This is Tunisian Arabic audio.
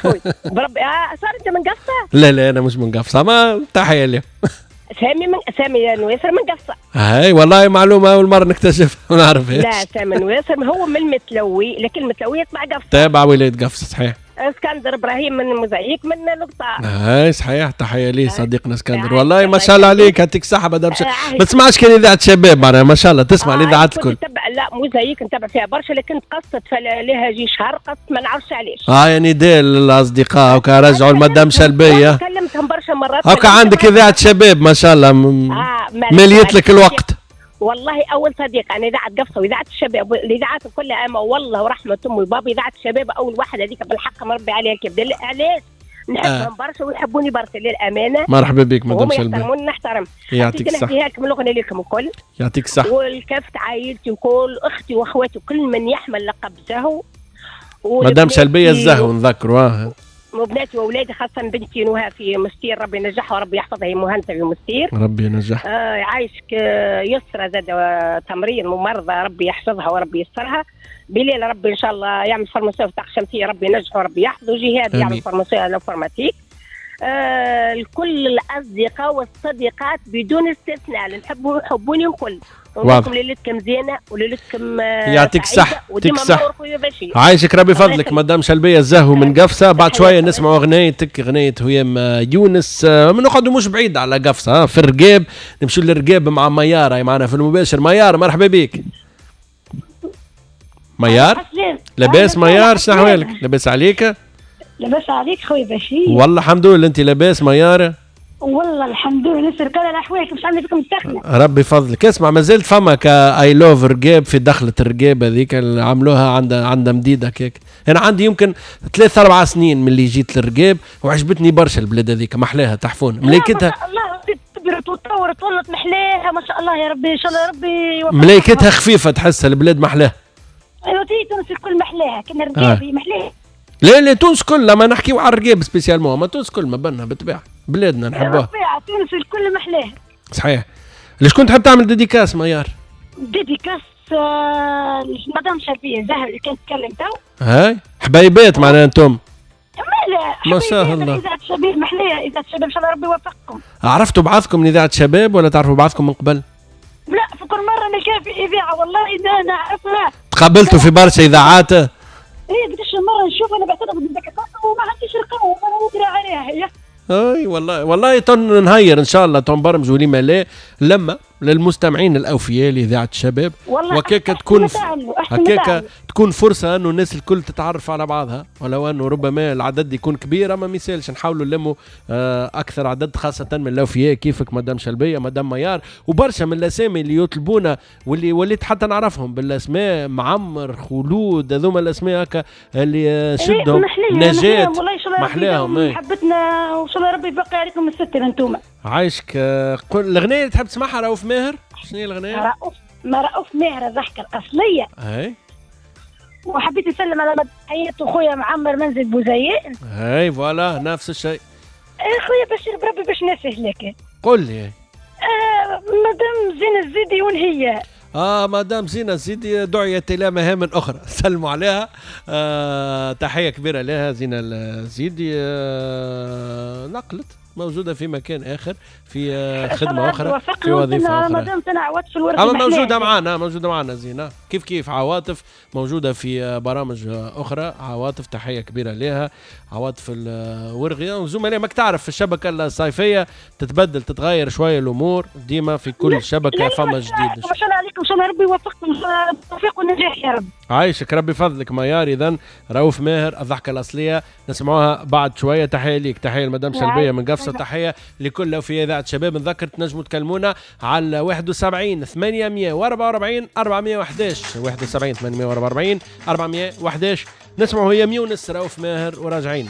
خويا بربي. صار انت من قفصه؟ لا لا انا مش من قفصه، ما تحية لي. سامي من سامي نويسر من قفصه. هاي والله معلومة اول مرة نكتشفها ما نعرفهاش. لا سامي نويسر هو من المتلوي، لكن المتلوي يتبع قفصه. تابع ولاية قفصه صحيح. اسكندر ابراهيم من موزايك من القطاع. هاي صحيح، تحية ليه صديقنا اسكندر. والله ما شاء الله عليك، يعطيك الصحة مدام. ما تسمعش كان اذاعة شباب معناها، ما شاء الله تسمع الاذاعات الكل. لا موزايك نتبع فيها برشا، لكن تقصت لها جي شهر قصت ما نعرفش علاش. يا نداء للاصدقاء هكا رجعوا المدام شلبيه. كلمتهم برشا مرات. هكا عندك اذاعة شباب ما شاء الله مليت لك الوقت. والله اول صديق انا اذاعة قفصه واذاعة الشباب الاذاعات كلها، اما والله ورحمة امي وبابي اذاعة الشباب اول واحدة هذيك بالحق مربي عليها الكبد. علاش؟ نحبهم برشا ويحبوني برشا للامانة. مرحبا بك مدام شلبي. يحترموني نحترم. يعطيك الصحة. نحكيها لكم الاغنية لكم الكل. يعطيك الصحة. والكافة عائلتي وكل اختي واخواتي وكل من يحمل لقب زهو. مدام شلبيه الزهو نذكروا. وبناتي واولادي، خاصة بنتي نهى في مستير، ربي ينجحها وربي يحفظها، هي مهندسه في مستير. ربي ينجحها. عايشك. يسرى زاد تمرين ممرضة، ربي يحفظها وربي يسرها. بلال ربي ان شاء الله يعمل formation في الطاقة الشمسية، ربي ينجحه وربي يحفظه. جهاد يعمل formation informatique. الكل الاصدقاء والصديقات بدون استثناء، اللي نحبهم يحبوني الكل. ونقولكم ليلتكم زينة وليلتكم يعطيك الصحة. يعطيك الصحة. عايشك ربي فضلك مدام شلبيه الزهو من قفصه. بعد شوية نسمعوا اغنيتك، اغنية هيام يونس. نقعدوا مش بعيد على قفصه، في الرقاب، نمشوا للرقاب مع ميار معنا في المباشر. ميار مرحبا بك. ميار لاباس؟ ميار شنو احوالك؟ لاباس عليك؟ لاباس عليك خويا بشير؟ والله الحمد لله. انت لاباس ميار؟ والله الحمد لله، نسر كل الاحوال، مش عامله فيكم السخنة. ربي يفضلك. اسمع، مازلت فما I love رقاب في دخله الرقاب هذيك اللي عملوها عندها مديدة كيك. انا عندي يمكن 3-4 سنين من اللي جيت للرقاب وعجبتني برشا البلاد هذيك، محلاها تحفون ملايكتها. ما شاء الله كبرت وتطورت ولت محلاها ما شاء الله، يا ربي ان شاء الله ربي يوفقك. ملايكتها خفيفة، تحسها البلاد محلاها. ايوا تونس الكل محلاها، كنا الرقاب محلاها. لا لا تونس كلها، ما نحكيو على الرقاب spécialement، ما تونس كل ما بنها بالطبيعة، بلادنا نحبوها. بالطبيعة تونس الكل محلاها. صحيح. لشكون تحب تعمل dédicace ميار؟ dédicace مدام شرفيه زهر اللي كانت تتكلم تو. هاي حبايبات معناها انتم. ما شاء الله. اذاعة الشباب محلاها، اذاعة الشباب ان شاء الله ربي يوفقكم. عرفتوا بعضكم من اذاعة شباب ولا تعرفوا بعضكم من قبل؟ لا، في كل مرة نلقاها في اذاعة والله اذا نعرفها. تقابلتوا في برشا اذاعات؟ ايه قداش مرة نشوف انا بعتذر بالذكاء وما عنديش رقم وما ندري عليها هي. اي والله والله تن نهير ان شاء الله تنبرمجوا لما لا لما للمستمعين الاوفياء لاذاعة الشباب، وكيكا تكون هكاكا تكون فرصة انه الناس الكل تتعرف على بعضها، ولو انه ربما العدد يكون كبير اما ما يسالش، نحاولوا نلموا اكثر عدد خاصة من الاوفياء كيفك مدام شلبيه، مدام ميار، وبرشا من الاسامي اللي يطلبونا واللي وليت حتى نعرفهم بالاسماء، معمر، خلود، هذوما الاسماء هكا اللي شدهم نجاة محلاهم. حبتنا وان شاء الله ربي يبقي عليكم الستر انتوما. عايشك. قل الاغنية اللي تحب تسمعها رؤوف ماهر، شنو هي الاغنية؟ رؤوف ماهر الضحكة الاصلية. اي وحبيت نسلم على حياة خويا معمر منزل بوزيان. اي voilà نفس الشيء. خويا بشير بربي باش نسهلك. قل لي. مدام زينة الزيدي وين هي؟ مدام زينة الزيدي دعيت إلى مهام أخرى، سلموا عليها. تحية كبيرة لها زينة الزيدي. نقلت موجودة في مكان آخر، في خدمة أخرى، في وظيفة أخرى. أما موجودة معنا، موجودة معنا زينة كيف كيف. عواطف موجودة في برامج أخرى. عواطف تحية كبيرة لها، عواطف الورغية وزملاء. ماك تعرف في الشبكة الصيفية تتبدل تتغير شوية الأمور، ديما في كل شبكة فما جديد. ما شاء الله عليكم، إن شاء الله ربي يوفقكم، إن شاء الله التوفيق والنجاح يا رب. عايشك ربي فضلك ميار. إذن رؤوف ماهر الضحكة الأصلية نسمعوها بعد شوية. تحية ليك، تحية لمدام شلبية من قفصة، تحية لكل في إذاعة شباب. نذكر تنجموا تكلمونا على 71 844 411، 71 844 411. نسمعوا هي يونس رؤوف ماهر وراجعين.